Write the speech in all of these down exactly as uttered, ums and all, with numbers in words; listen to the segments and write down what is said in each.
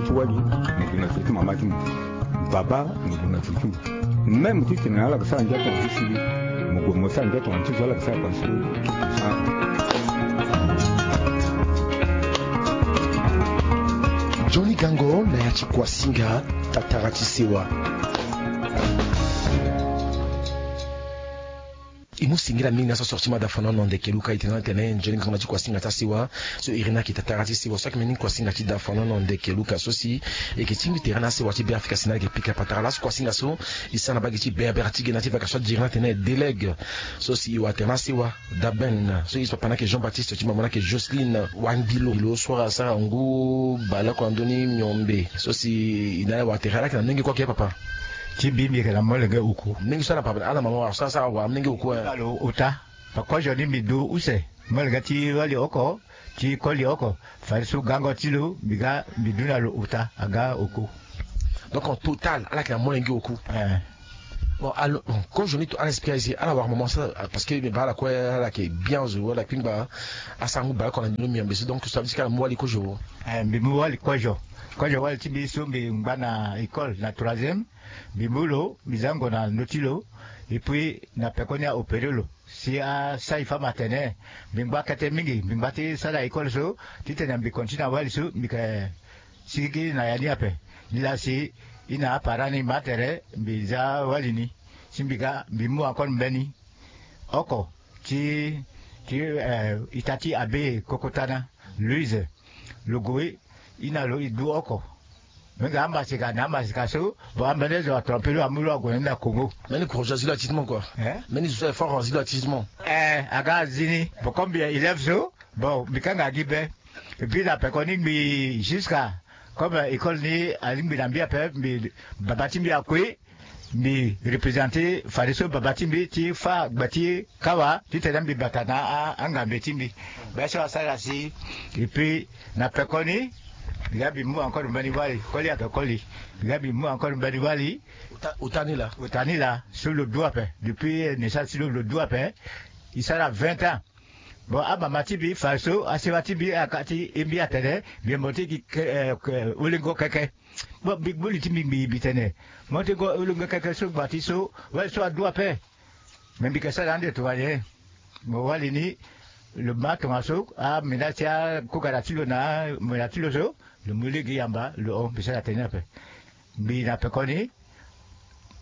Ti wali mo gue na zo ti mama ti mo. Baba mo gue na zo ti mo. Même ti tene ala ga sara ndia tonga ti sili, mo gue mo sara ndia tonga ti zo ala ga sara kua ti sili. Johnny Gango na ya ti Kuasinga, tatara ti sewa. E mu singila mingi na so sorti ma da fana na ndeke luka e tene na tene nzoni ngango na ti Kuasinga ti asewa. So e iri ni ayeke tatara ti sewa so ayeke mbeni Kuasinga ti da fana na ndeke luka so si e yeke tingbi tere na asewa ti Beafrika si na ayeke pika patara laso Kuasinga so e sara na bage ti berbere ti ge na ti vaka so adiri na tene delègue. So si e wara tere na asewa. Daben so e papa ni ayeke Jean Baptiste ti mama ni ayeke Jocelyne Wangilo. Lo so asara ngu baleoko na ndö ni miombe so si e na ala wara tere ala yeke na molenge kue ake papa. Ti mbi mbi yeke na molenge oku. Molenge so ala papa ala mama wara so asara wara molenge oku e. Alo ota. Fa kozo ni mbi du use molenge ti wali oko, ti koli oko. Fadeso gango ti lo mbi ga mbi du na lo ota aga oku. Donc en total ala yeke na molenge oku. Eh. Bon, alors, bon, kozo ni to ala expliquer ici, ala wara moment ça, parce que mbi baa ala kue ala yeke bien zo, ala kpingba asara ngu baleoko na ndö ni miombe so, donc so ça veut dire que ala mu wali kozo. Eh, mbi mu wali kozo. Kozo wali ti mbi so mbi ngba na école na troisième. Mbi mu lo mbi za ngo na ndö ti lo. Et puis na pekoni a opéré lo si asara e femme atene mbi ngba kete mingi, mbi ngba ti sara école so titene mbi continue na wali so mbi yeke sigi na ya ni ape. Nilaa si e na aparent ni ma tere mbi za wali ni. Si mbi ga mbi mu encore mbeni oko ti ti eh, ita ti abe kokotana Louise. Lo gue e na lo e du oko. Mingi amasika na amasika so. Bon ambeni zo atrompe lo amu lo ague ni na Congo. Mbeni courage azi lo atisement quoi. Eh? Mbeni zo so aye fort azi lo atisement. Eh, aga azi ni. Bon comme mbi élève so. Bon mbi kanga gi be. Et puis na pekoni mbi jusqu'à comme école ni alingbi na mbi ape mbi baba ti mbi akui. Mbi représenter fadeso baba ti mbi ti fâ gbe ti kawa titene mbi bata na angambe ti mbi. Be so asara si. Et puis na pekoni mbi ga mbi mu encore mbeni wali koli ape koli. Mbi ga mbi mu encore mbeni wali. Ota ni laa. Ota ni laa so lo du ape depuis naissance ti lo lo du ape. E sara vingt ans. Bon amama ti mbi fadeso asewa ti mbi aka ti e mbi atene mbi mo ti gi olengo keke. Bon mbi gbu li ti mbi mbi tene mo ti go olengo keke so gba ti so. Wali so adu ape. Me mbi yeke sara ande tongana nyen? Mo wali ni lo ma tongaso amena ti akugara ti lo na amena ti lo so. Lo mu lege yamba lo hon mbi sara tene ape. Mbi na pekoni.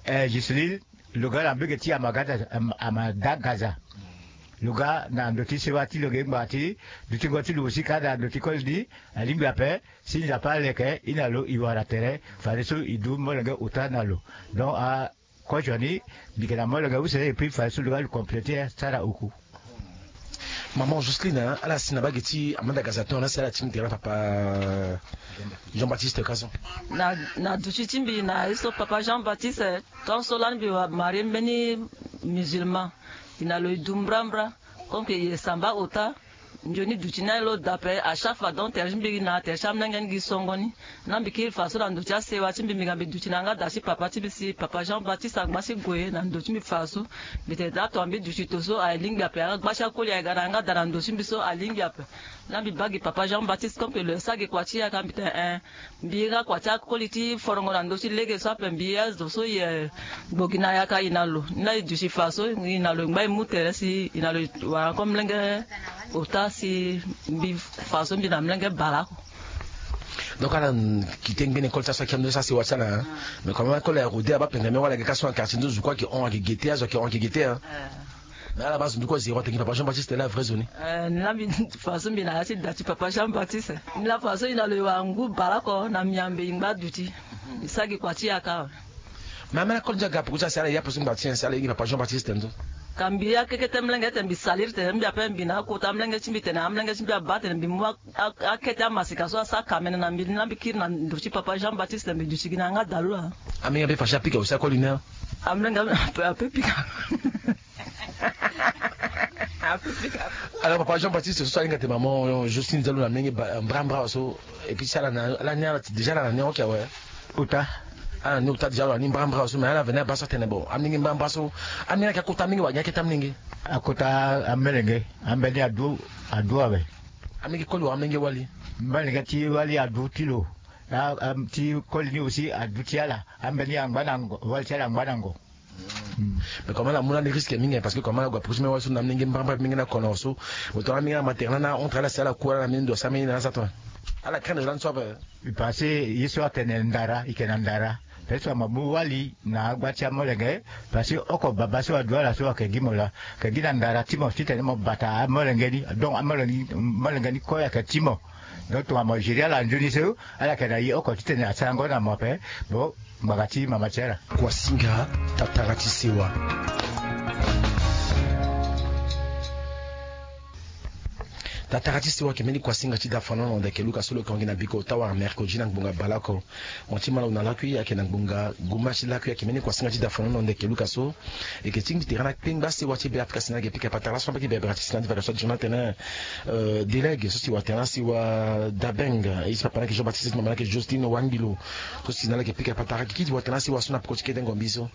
Eh, Giseline lo ga na mbege ti amagada. Amada gaza. Lo ga na ndo ti sewa ti lo ge ngba ti dutingo ti lo aussi ka na ndo ti koli ni. Alingbi ape si Nzapa aleke e na lo e wara tere. Fadeso e du molenge ota na lo. Donc a kozo ni mbi yeke na molenge use et puis fadeso lo ga lo compléter sara oku. Maman Jocelyne, ala si na bage ti amanda gaza ton ala si ala ti mbi tere na papa Jean Baptiste kaso. Na na duti ti mbi na ye so papa Jean Baptiste. Tant so lani mbi wa marie mbeni musulman. E na lo e du mbrambra. Comme que e samba ota. Nzoni duti ni aye lo da ape à chaque fois donc tere ti mbi na tere ti amolenge ni gi songo ni. Na mbi kiri fa so na ndo ti asewa ti mbi mbi ga mbi duti na yanga da ti papa ti mbi si papa Jean Baptiste angba ti gue na ndo ti mbi fa so. Mbi tene daa tonga mbi duti to so aye lingbi ape yanga gba ti akoli aye ga na yanga da na ndo ti mbi so aye lingbi ape. Na mbi baa gi papa Jean Baptiste comme que lo ye sara gi kua ti yaka mbi tene eh. Mbi iri akua ti akoli ti forongo na ndö ti lege so ape mbi ye azo so ye gbo gi na yaka e na lo ni laa e duti fa so e na lo e ngba e mu tere si e na lo e wara encore molenge ota si mbi fa so mbi na molenge baleoko. Donc ala kite ngbene école ti aso ayeke ndo ti asewa ti ala. Mais quand même akoli aye rode abaa pendeme wala ayeke ka so na quartier nde zo kue ayeke hon ayeke gete azo ayeke hon ayeke gete. Mais ala baa zo ndu kue zéro atene gi papa Jean Baptiste laa vrai zo ni. Eh, ni laa mbi fa so mbi na ya ti da ti papa Jean Baptiste. Ni laa fa so e na lo e wara ngu baleoko na miambe e ngba duti. E sara gi kua ti yaka awe. Mais ameni akoli ndia ga poko ti asi ala e ya ape so ngba ti nyen si ala e gi papa Jean Baptiste ndo. Ka mbi ya kekete molenge tene mbi saliri tene mbi ape mbi na akota molenge ti mbi tene amolenge ti mbi abaa tene mbi mu akete amasika so asara kamene na mbi ni laa mbi kiri na ndo ti papa Jean Baptiste mbi duti gi na yanga da lo laa. Amolenge ape fa si apika aussi akoli ni. Amolenge ape ape pika. Alors papa Jean Baptiste so so alinga te maman Justine za lo na ndenge mbrambra so. Et puis si ala na ala ni ala déjà ala na ni oke awe. Ota. Ala na ni ota déjà ala na ni mbrambra so mais ala veni abaa so atene bon amolenge mbrambra so. Amolenge ayeke akota amolenge wala gi akete amolenge. Akota amolenge. Ambeni adu adu awe. Amolenge koli wala amolenge wali. Amolenge ti wali adu ti lo. Ti koli ni aussi aduti ala ambeni angba na ngo wali ti ala angba na ngo. Mais comment la mu na ni risque mingi parce que comment la gua proche mais wali so na mingi mbamba mingi na kono so. Boto na mingi na maternel na entre ala si ala ku ala na mingi ndo sa mingi na sa to. Ala craindre la nso pe. Parce que ye so atene ndara ike na ndara. Pe so ama mu wali na agba ti amolenge. Parce que oko baba so adu ala so ake gi mo la ke gi na ndara ti mo titene mo bata amolenge ni. Donc amolenge ni kue ake ti mo. Donc tongana mo gérer ala nzoni so ala yeke na ye oko titene asarango na mo ape. Bon, ngbanga ti mama ti ala. Kuasinga tatara ti sewa. Tatara ti sewa ake mbeni kuasinga ti dafanono ndeke luka so lo kongi na biko ota wara mercredi na ngbonga baleoko. Mo ti malawu na lakui ake na ngbonga guma ti lakui ake mbeni kuasinga ti dafanono ndeke luka so. Eke tingbi tere na kpengba sewa ti be afrika sina eke pika patara so na mbaki be bera ti sina ti vada so ti journal tene. Delege so si watena si wa dabeng. Isi papa na eke jean baptiste mama na eke justine wangilo. So si na la eke pika patara kiki ti watena si wa so na poko ti kete ngombi so.